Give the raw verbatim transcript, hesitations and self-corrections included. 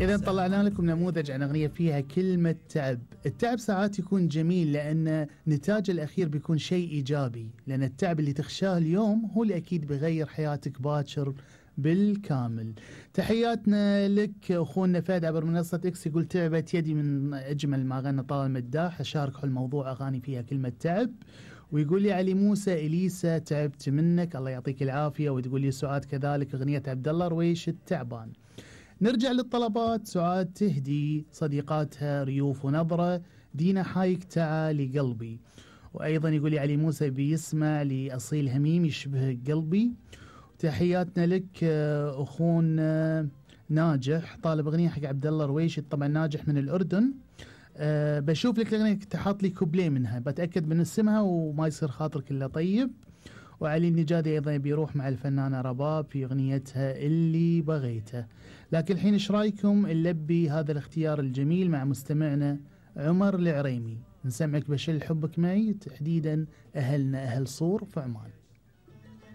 إذا طلعنا لكم نموذج عن أغنية فيها كلمة تعب. التعب ساعات يكون جميل لأن نتاج الأخير بيكون شيء إيجابي، لأن التعب اللي تخشاه اليوم هو اللي أكيد بيغير حياتك باكر بالكامل. تحياتنا لك أخونا فهد عبر منصة إكس، يقول تعبت يدي من أجمل ما غنى طلال مداح، أشارك حول موضوع أغاني فيها كلمة تعب. ويقول لي علي موسى إليسا تعبت منك الله يعطيك العافية. وتقول لي سعاد كذلك أغنية عبد الله رويش التعبان. نرجع للطلبات. سعاد تهدي صديقاتها ريوف ونظرة دينا حايك تعالي قلبي. وأيضا يقول لي علي موسى بيسمع لأصيل هميم يشبه قلبي. تحياتنا لك أخونا ناجح طالب أغنية حق عبد الله رويش، طبعا ناجح من الأردن. أه بشوف لك الأغنية تحط لي كوبليه منها، بتأكد من اسمها وما يصير خاطرك إلا طيب. وعلي النجادي أيضا بيروح مع الفنانة رباب في أغنيتها اللي بغيته. لكن الحين إيش رايكم نلبي هذا الاختيار الجميل مع مستمعنا عمر العريمي، نسمعك بشل حبك معي، تحديدا أهلنا أهل صور في عمان.